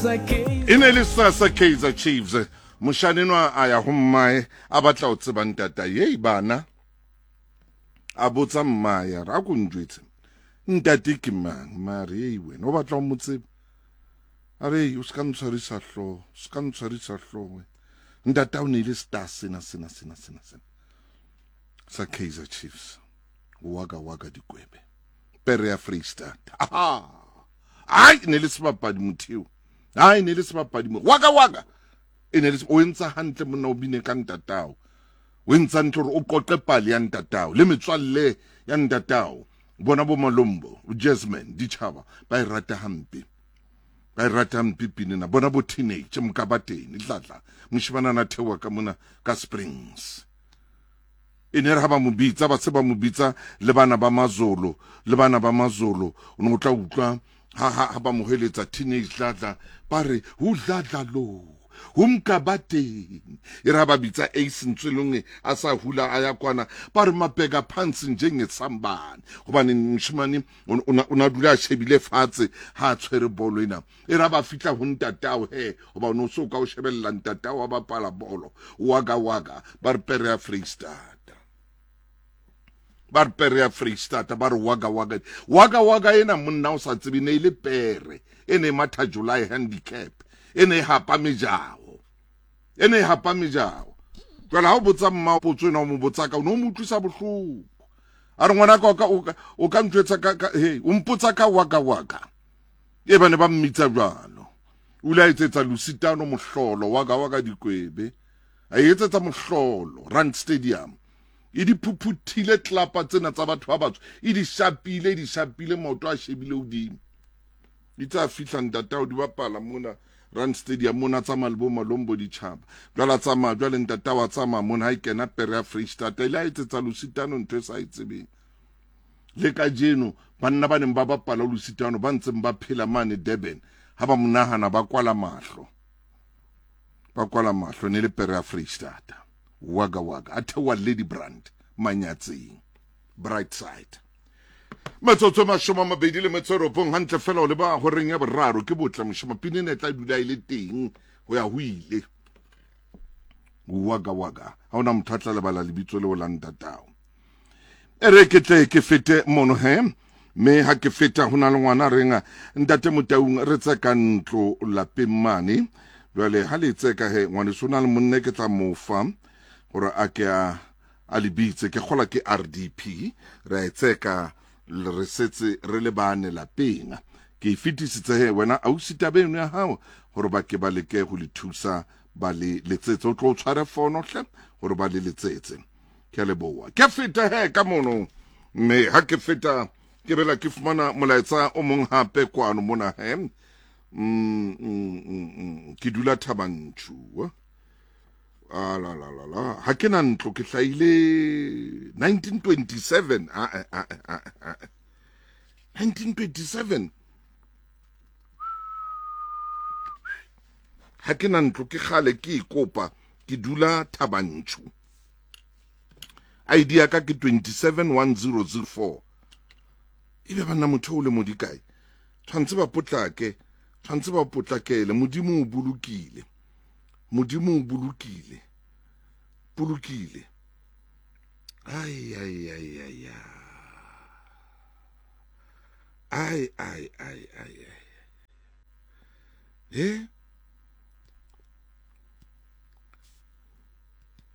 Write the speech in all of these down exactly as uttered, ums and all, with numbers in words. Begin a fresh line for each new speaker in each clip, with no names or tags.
E ne le sasa Kaizer Chiefs. Moshane nwa a ya ho mmae a batla ho tseba ntata yei bana. A botsa mmae a re a ko njwetse. Ntate ke mang? Mare ei wena o batla ho mo tseba. A re o ska ntshwarisa hlooho, ska ntshwarisa hlooho. Ntata o ne le star sena sena sena sena sena. Sa Kaizer Chiefs. Waka waka dikwebe. Pere ya Freistata. Aha. Ai ne le sebapadi motheo. Ai ne le sebapadi mo. Waka waka. E ne le o entsa hantle monna o bine ka ntatao. O entsa hantle hore o qoqe pale ya ntatao le metswalle ya ntatao. Bona bo Malombo, Jasmine, ditjhaba ba e rata hampe. Ba e rata hampe pina na bona bo teenage mkabateni tlatla. Moshimana na thewa ka mona ka Springs. E ne re ha ba mo bitsa ba se ba mo bitsa le bana ba Mazolo, le bana ba Mazolo o no tla utlwa ha ha ba mo heletsa teenage tlatla ba re hu dladla lo humkabateni. E re ha ba bitsa Ace Ntswelong a sa hula a ya kwana ba re mapeka phansi njengesambane hobane moshimane o na dula a shebile fatshe ha a tshwere bolo ena. E re ha ba fihla ho ntatao he hoba o no so ka o shebella ntatao wa bapala bolo waka waka ba re pere ya Freistata. Ba re pere ya Freistata ba re waka waka waka waka ena monna o sa tsebe ne ile pere e ne matha July handicap e ne hapa mejao e ne hapa mejao. Jwale ha o botsa mma potso ena o mo botsa ka o no mo utlwisa bohloko. A re ngwana ka o ka o ka ntjwetsa ka he o mpotsa ka waka waka. E bane ba mmitsa jwalo. O ile a etsetsa Lusitano mohlolo waka waka dikwebe. A etsetsa mohlolo Rand Stadium. E di phuphuthile tlapa tsena tsa batho ba batsho. E di shapile di shapile maoto a shebile hodimo. Di tsa fihla ntatao di bapala mona Rand Stadium mona tsamaya le bo Malombo ditjhaba. Jwale tsamaya jwale ntata wa tsamaya mona ha e kena pere ya Freistata ile a etsetsa Lusitano ntho e sa e tsebeng. Le kajeno banna ba neng ba bapala Lusitano ba ntseng ba phela mane Durban ha ba monahana ba kwala mahlo. Ba kwala mahlo ne le pere ya Freistata. Waka waka a thewa Lady Brand Manyatseng Bright Side. Metsotso mashome a mabedi le metso e robong hantle fela o leba horeng ya boraro ke botla moshoma pine ne tla dula e le teng ho ya ho ile. Waka waka ha ona motho a tla lebala lebitso leo la ntatao. E re ke tle ke fete mono he mme ha ke feta ho na le ngwana reng ntate Motaung re tseka ntlo lapeng mane. Jwale ha le tseka he ngwaneso na le monne ke tla mofa hore a ke a a lebitse ke kgola ke R D P re tseka re setse re le bane lapeng. Ke e fetisitse he wena ausi tabeng ya hao hore ba ke ba leke ho le thusa ba le letsetse o tlo tshware fono hle hore ba le letsetse. Ke a leboha. Ke feta he ka mono mme ha ke feta ke bela ke fumana molaetsa o mong hape kwano mona he. Mm, mm, mm, ke dula Thabantšu. Ah la la la la ha ke na ntlo ke hlahile nineteen twenty-seven ah ah ah ah nineteen twenty-seven ha ke na ntlo ke kgale ke ikopa ke dula Thabantšu. I D ya ka ke twenty-seven one zero zero four. Ebe bana motho o le modikae tshwantse ba potlake tshwantse ba potlakele. Modimo o bolokile. Modimo o bolokile. Bolokile. Ai ai ai ai. Ai ai ai ai ai. Eh?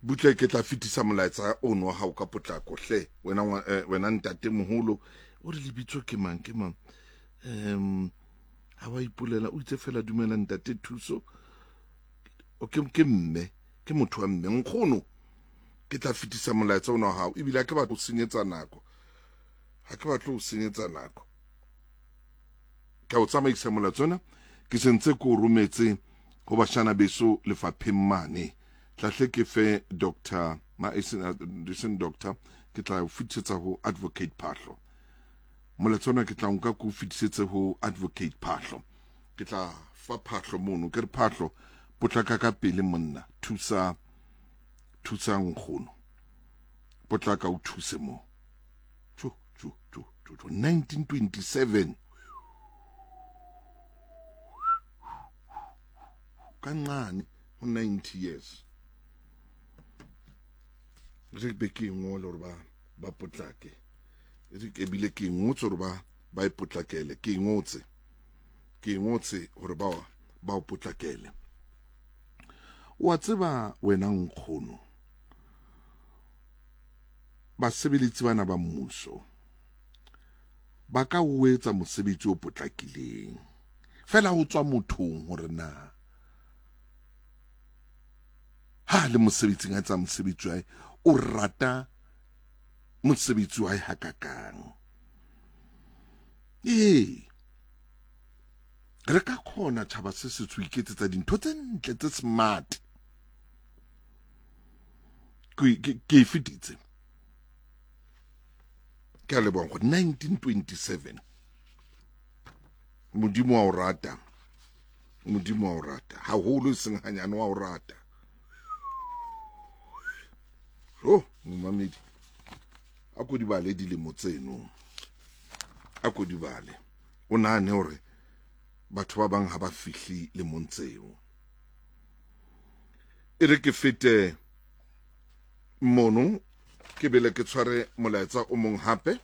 Butle ke tla fetisa molaetsa ono wa hao ka potlako hle wena wena ntate moholo o re lebitso ke mang ke mang em ha wa ipolela o itse fela dumela ntate Thuso o ke ke mme ke motho wa mme nkgono ke tla fetisa molaetsa ona wa hao ebile ha ke batla ho senyetsa nako ha ke batla ho senyetsa nako ke o tsamaisa molaetsa ona ke sentse ko rometse ho bashana beso lefapheng mane. Tlahle ke fe doctor ma eseng doctor ke tla o fetisetsa ho Advocate Phahlo. Molaetsa ona ke tla nka ko fetisetse ho Advocate Phahlo. Ke tla fa Phahlo mono ke re Phahlo potlaka ka pele monna thusa thusa nkgono potlaka o thuse mo tjo tjo tjo tjo nineteen twenty-seven. Ka nqane ho ninety years. Re be ke ngole hore ba ba potlake. Re ke bile ke ngotse hore ba ba e potlakele, ke ngotse. Ke ngotse hore ba ba o potlakele. Wa tseba wena nkgono, basebeletsi bana ba mmuso ba ka o etsa mosebetsi o potlakileng. Fela ho tswa mothong hore na ha le mosebetsing a etsa mosebetsi wa hae, o rata mosebetsi wa hae hakakang. Ee, re ka kgona tjhaba se setsho iketsetsa dintho tse ntle tse smart. Ke ke e fetitse. Ke a leboha nkgono. nineteen twenty-seven. Modimo wa o rata. Modimo wa o rata. Haholo e seng hanyane wa o rata. Oh, momamedi. A ko di bale dilemo tseno. A ko di bale. O nahane hore batho ba bang ha ba fihle lemong tseo. E re ke fete mono, ke bele ke tshware molaetsa o mong hape.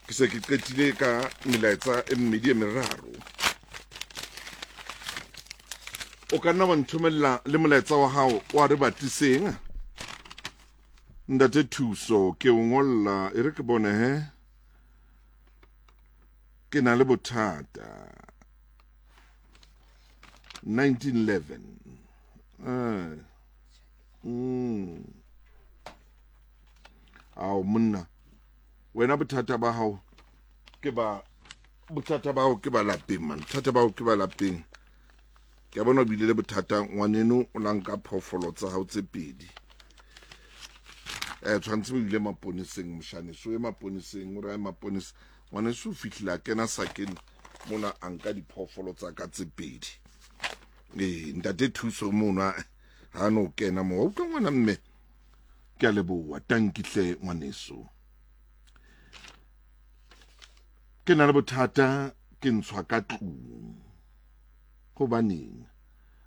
Ke se ke qetile ka melaetsa e mmedi e meraro. O ka nna wa nthomella le molaetsa wa hao wa re batliseng. Ntate Thuso, ke o ngolla, e re ke bone he. Ke na le bothata. nineteen eleven. Eh. Mm. Ao monna. Wena bothata ba hao ke ba bothata ba hao ke ba lapeng man. Bothata ba hao ke ba lapeng. Ke a bona o bile le bothata ngwaneno o la nka phoofolo tsa hao tse pedi. Eh tshwantse o ile maponeseng moshaneso e maponeseng o re maponesa ngwaneso o fihlile a kena sakeng mona a nka diphoofolo tsa ka tse pedi. Eh ntate Thuso mona ha no kena mo. O utlwa ngwana mme. Ke a leboha, tankihle ngwaneso. Ke na le bothata ke ntshwa ka tlung. Hobaneng?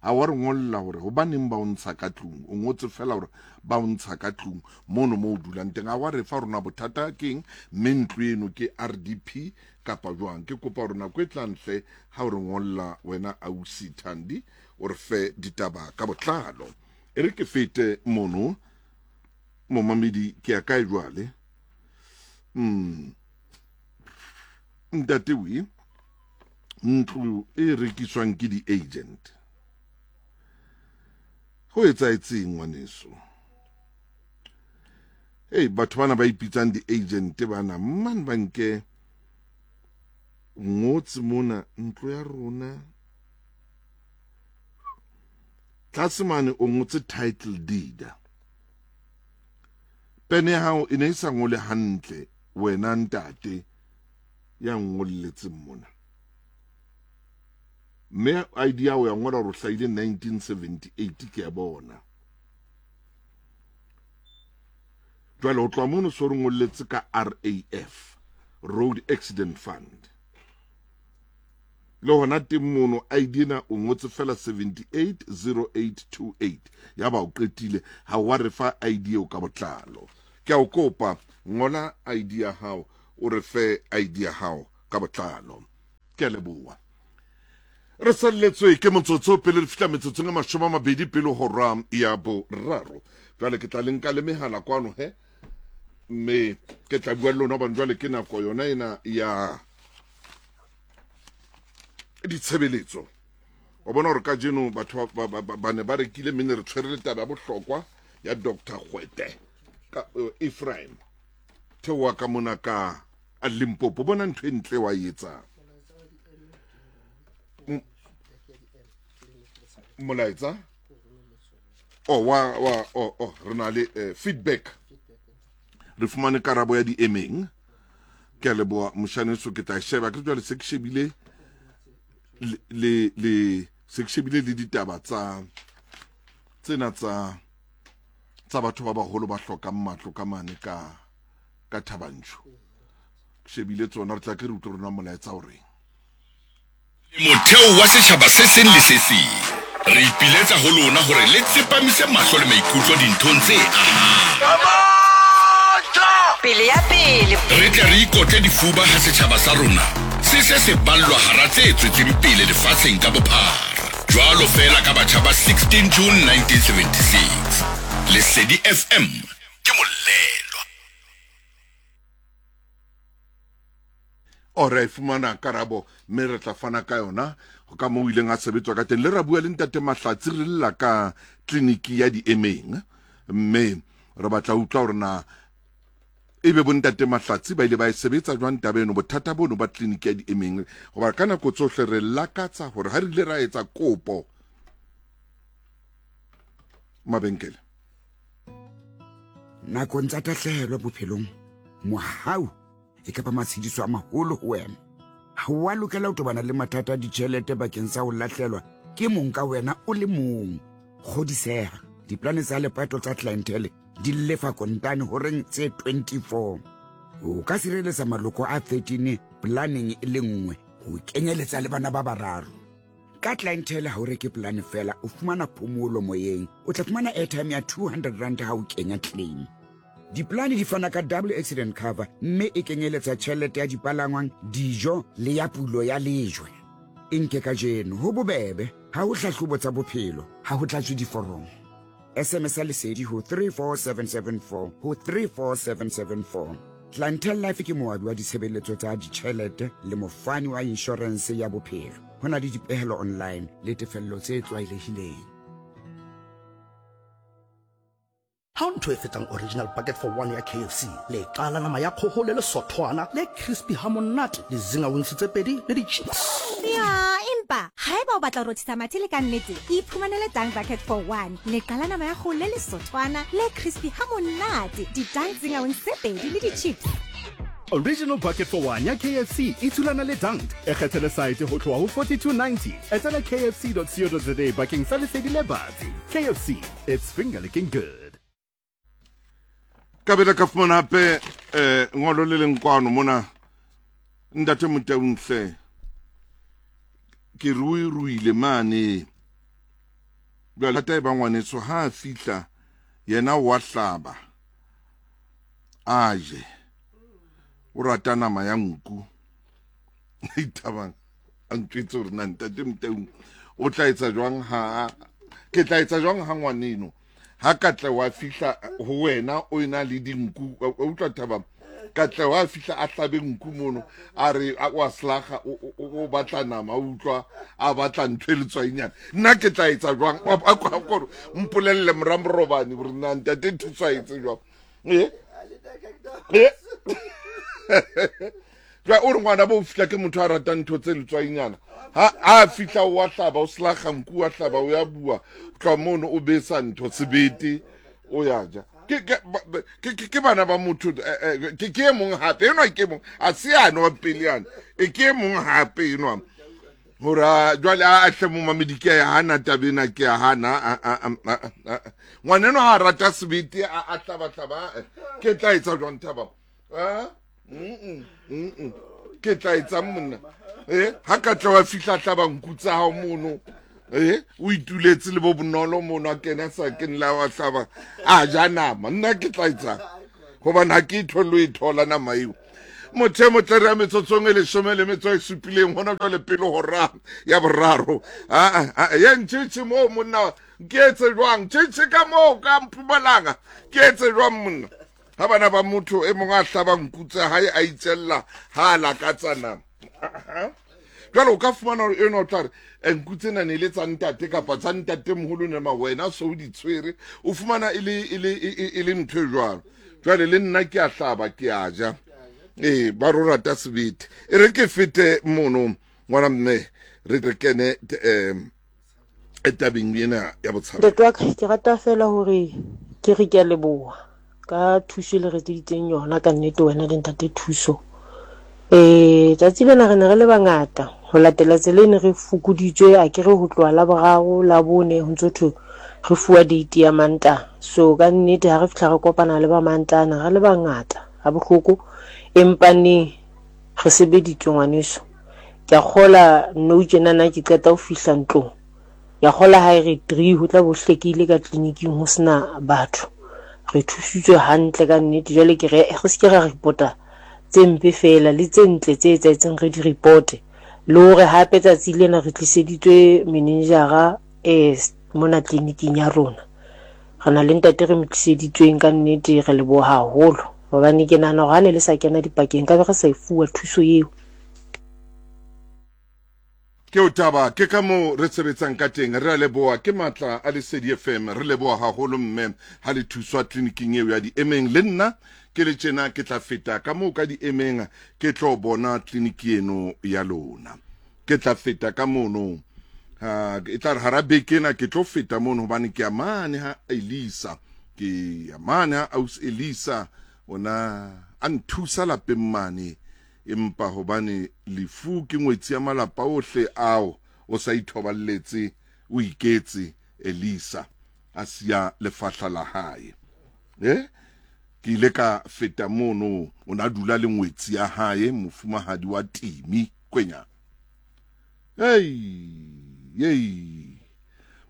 Ha wa re ngolla hore hobaneng ba o ntsha ka tlung? O ngotse fela hore ba o ntsha ka tlung mono mo o dulang teng. Ha wa re fa rona bothata keng, mme ntlo eno ke R D P kapa jwang? Ke kopa hore nako e tlang hle ha o re ngolla wena ausi Thandi, o re fe ditaba ka botlalo. E re ke fete mono momamedi, ke ya kae jwale? Mm. Ntate we, ntlo e rekiswang ke di-agent. Ho etsahetseng ngwaneso? Hey, batho bana ba ipitsang di-agent bana, man ba nke ngotse mona ntlo ya rona. Tlase mane o ngotse title deed. Pene ya hao e ne e sa ngole hantle wena ntate ya ngolletseng mona. Mme I D ya hao ya ngola hore o hlahile nineteen seventy-eight, ke a bona. Jwale ho tloha mono so re ngolletse ka R A F, Road Accident Fund. Le hona teng mono I D ena o ngotse fela seventy-eight zero eight two eight. Ya ba o qetile, ha wa re fa I D eo ka botlalo. Ke a o kopa, ngola I D ya hao, o re fe I D ya hao ka botlalo. Ke a leboha. Re salletswe ke motsotso pele re fihla metsotsong e mashome a mabedi pele hora ya boraro. Jwale ke tla le nka le mehala kwano he, mme ke tla bua le lona hobane jwale ke nako yona ena ya ditshebeletso. Wa bona hore kajeno batho ba, ba, ba, ba ne ba rekile, mme ne re tshwere le taba ya bohlokwa ya Doctor Kgwete ka, eh, Ephraim theoha ka mona ka Limpopo. Bona ntho e ntle wa e etsang. Molaetsa oh wa wa oh oh re na le eh, feedback. Re fumane karabo ya di-emeng. Ke a leboha moshaneso, ke tla sheba ke jwale se ke shebile le, le, le se ke shebile le ditaba tsa tsena tsa tsa batho ba baholo ba hlokang matlo ka mane ka ka Thabanchu. Ke shebile tsona, re tla ke re utlwe rona molaetsa o reng.
Motheo wa setjhaba se seng le se seng. Re ipiletsa ho lona hore le tsepamise mahlo le maikutlo dinthong tse ahang.
Pele ya pele.
Re tle re ikotle difuba ha setjhaba sa rona se se se ballwa hara tse tswetseng pele lefatsheng ka bophara. Jwalo feela ka batjha ba sixteen June nineteen seventy-six. Lesedi F M ke molelwa.
O re fumana karabo mme re tla fana ka yona ka moo ileng a sebetswa ka teng. Le ra bua le ntate Mahlatsi re lla ka tleliniki ya diemeng, mme re batla utlwa hore na ebe bo ntate Mahlatsi ba ile ba e sebetsa jwang taba eno, bothata bono ba tleliniki ya diemeng. Hoba ka nako tsohle re lakatsa hore ha re ile ra etsa kopo mabenkele.
Nakong tsa tahlehelo bophelong, mohau e kapa matshediso a maholo ho wena. Ha o a lokela ho tobana le mathata a ditjhelete bakeng sa ho lahlelwa ke mong ka wena o le mong. Kgodiseha, diplane tsa lepato tsa clientele di lefa kontane horeng tse twenty-four. O ka sireletsa maloko a thirteen planeng e le nngwe ho kenyeletsa le bana ba bararo. Ka clientele ha o reke plane fela, o fumana phomolo moyeng. O tla fumana airtime ya two hundred rand ha o kenya claim. Diplane di fana ka double accident cover mme e kenyeletsa tjhelete ya dipalangwang, dijo le ya pulo ya lejwe. E nke kajeno ho bobebe, ha ho hlahlobo tsa bophelo, ha ho tlatswe diforomo. S M S ya Lesedi ho three four seven seven four ho three four seven seven four. Clientele Life ke moabi wa ditshebeletso tsa ditjhelete le mofani wa insurance ya bophelo. Ho na le dipehelo online le tefello tse tlwaelehileng.
Ha o ntho e fetang original bucket for one ya K F C, le qala nama ya kgoho le lesothwana le crispy ha monate, le zinga wings tse pedi le di-chips.
Ya, empa haeba o batla ho rothisa mathe le ka nnete, iphumanele Dunk Bucket for one, le qala nama ya kgoho le lesothwana le crispy ha monate, di-Dunk zinga wings tse pedi le di-chips.
Original Bucket for One ya K F C e thulana le Dunk. E kgethele site ho tloha ho forty-two ninety. Etela K F C dot co dot za bakeng sa lesedi le batsi. K F C, it's finger licking good.
Kabela ka fumana hape eh ngolo le leng kwano mona ntate Motaung ke ruiruile mane. Jwale tata e ba ngwaneso ha a fihla yena wa hlaba a je, o rata nama ya nku. Ithabang a ntjwetse hore na ntate Motaung o tla etsa jwang ha ke tla etsa jwang ha ngwaneno ha ka tla wa fihla ho wena o ena le dinku. O utlwa Thabang, ka tla wa fihla a hlabe nku mono a re wa slaga o batla nama, o utlwa a batla ntho e letswainyana. Nna ke tla etsa jwang? A gore mpolelle moramorobane gore nna ntate thuso a etse jwang. Eh eh jwa o re ngwana bo fihla ke motho a ratang ntho tse letswainyana. Ha a fihla wa hlaba o slaga nku wa hlaba o ya bua tla mono o besa ntho sebete o ya ja. Ke ke ke bana ba motho ke ke mong hape enwa ke mong a se ano wa pele yana e ke mong hape enwa hore jwale a hle mo mamedi ke ya hana tabena ke ya hana ngwaneno ha rata sebete a hlaba hlaba ke tla etsa jwang Thaba? Ah mm mm ke tla etsa monna eh ha ka tla wa fihla hlaba nku tsa hao mono eh o ituletse le bo bonolo mono a kena sa keng la wa hlaba a ja nama. Nna ke tla etsa hobane ha ke ithole e thola nama eo. Motho motle re metsotsong e leshome le metso e supileng hona jwale pele hora ya boraro. A a ye ntshitshi mo monna ke etse jwang tshitshi ka mo ka Mpumalanga ke etse jwang monna ha bana ba motho e mong a hlaba nku tsa hae a itsella ha a lakatsa nama. Jwale o ka fumana hore eno o tla re nku tsena ne le tsa ntate kapa tsa ntate moholo ne ma wena so o di tshwere o fumana e le e le e le ntho e jwalo. Jwale le nna ke a hlaba ke a ja eh ba ro rata sebete. E re ke fete mono ngwana mme re re kene eh tabeng ena ya botshabo.
Ntate wa ka ke rata fela hore ke re ke a leboha ka thuso le re tseditseng yona ka nnete wena le ntate Thuso. Eh tsatsi lena re ne re le bangata ho latela tsela e ne re fokoditswe a ke re ho tloha la boraro la bone ho ntso thwe re fuwa date ya Mantaha. So ka nnete ha re fihla re kopana le ba Mantaha re le bangata ha bohloko, empa neng re sebeditswe ngwaneso. Ke a kgola nou tjenana ke qeta ho fihla ntlong. Ke a kgola ha e re three ho tla bo hlekile ka tleliniking ho sena batho. Re thusitswe hantle ka nnete. Jwale ke re re se ke ra report-a tse mpe feela le tse ntle tse etsahetseng re di reporte. Le hore hape tsatsi lena re tliseditswe manager-a eh mona tleliniking ya rona. Re na le ntate re mo tliseditsweng ka nnete, re leboha haholo. Hobane ke nahana hore ha ne le sa kena dipakeng nkabe re sa e fuwa thuso eo.
Ke o taba ke ka moo re sebetsang ka teng. Re a leboha, ke matla a Lesedi F M. Re leboha haholo mme ha le thuswa tleliniking eo ya di-emeng. Le nna ke le tjena ke tla feta ka moo ka di-emeng ke tlo bona tleliniki eno ya lona. Ke tla feta ka mono. Ha e tla re hara beke ena ke tlo feta mono hobane ke a mane ha Elisa. Ke a mane ha aus Elisa ona a nthusa lapeng mane. Empa hobane lefu ke ngwetsi ya malapa ohle ao o sa ithoballetse o iketse Elisa a siya lefahla la hae. Eh ke ile ka feta mono, o na dula le ngwetsi ya hae mofumahadi wa Timi Kwenya. Hey hey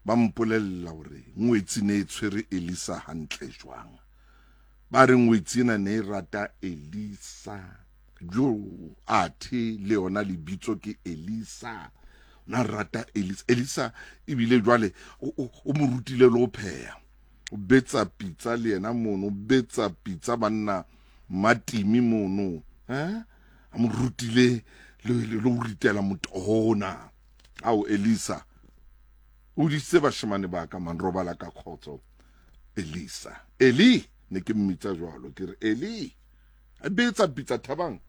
ba mpolella hore ngwetsi ne e tshwere Elisa hantle jwang. Ba re ngwetsi ena ne e rata Elisa. Jo athe le yona lebitso ke Elisa. Na rata Elisa. Elisa ebile jwale o mo rutile le ho pheha. O betsa pitsa le yena mono, o betsa pitsa banna Matimi mono. Eh? A mo rutile le le ho ritela motohona. Ao Elisa. O ditse bashemane ba ka man robala ka khotso. Elisa. Eli ne ke mmitsa jwalo ke re Eli. A betsa pitsa Thabang.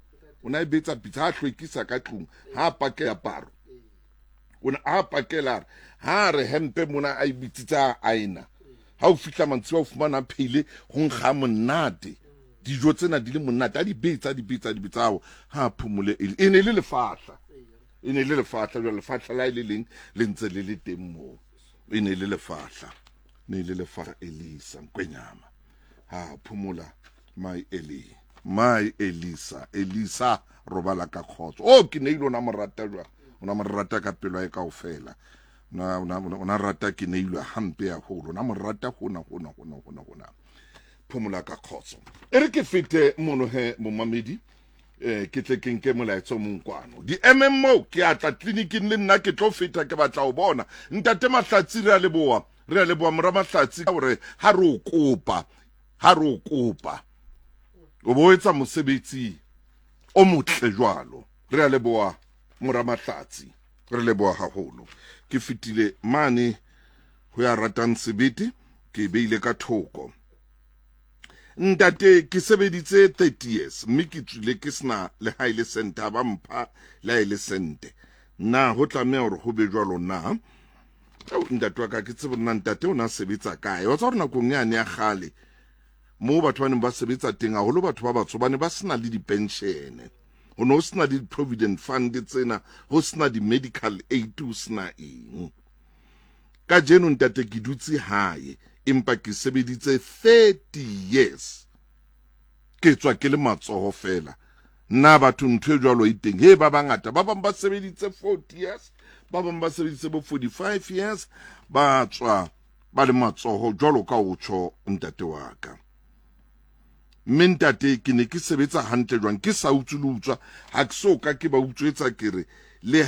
O na e betsa pitsa ha hlwekisa ka tlung, ha pake aparo. O na a pakela ha re hempe mona a ibitsitsa aina. Ha o fihla mantsiwa o fumana phele ho nkga monate. Dijo tsena di le monate a di betsa di betsa di betsa ao ha phumole e ne le lefahla. E ne le lefahla jwale lefahla la ile leng le ntse le le teng moo. E ne le lefahla. Ne le lefahla Elisa Nkwenyama. Ha phumula my Eli. My Elisa, Elisa robala ka khotso. Oh ke ne ile na morata jwa. Ona morata ka pelo ya kaofela. Na ona ona rata ke ne ile hampe haholo. Na morata hona hona hona hona hona. Phumula ka khotso. E re ke fete mono he momamedi. Eh ke tle ke nke molaetso mong kwano. Di M M O ke atla tleliniking le nna ke tlo feta ke batla ho bona. Ntate Mahlatsi re a leboha. Re a leboha mora Mahlatsi hore ha re o kopa. Ha re o kopa. O bo etsa mosebetsi o motle jwalo. Re a leboha mora Mahlatsi. Re leboha haholo. Ke fetile mane ho ya ratang sebete ke beile ka thoko. Ntate ke sebeditse thirty years mme ke tswile ke sena le ha ile sente ba mpha le ha ile sente. Na ho tlameha hore ho be jwalo na? Ao ntate wa ka ke tsebe nna ntate o na sebetsa kae. Wa tswa hore nakong yane ya kgale mo batho ba neng ba sebetsa teng haholo batho ba batsho ba ne ba sena le di-pension. Ho no sena le di-provident fund tsena, ho sena di-medical aid, ho sena eng. Kajeno ntate ke dutse hae empa ke sebeditse thirty years. Ke tswa ke le matsoho fela. Nna batho ntho e jwalo e teng. He ba bangata ba bang ba sebeditse forty years, ba bang ba sebeditse bo forty-five years, ba tswa ba le matsoho jwalo ka o tjho ntate wa ka. Mme ntate ke ne ke sebetsa hantle jwang ke sa utswe le utswa ha ke so ka ke ba utswetsa ke re le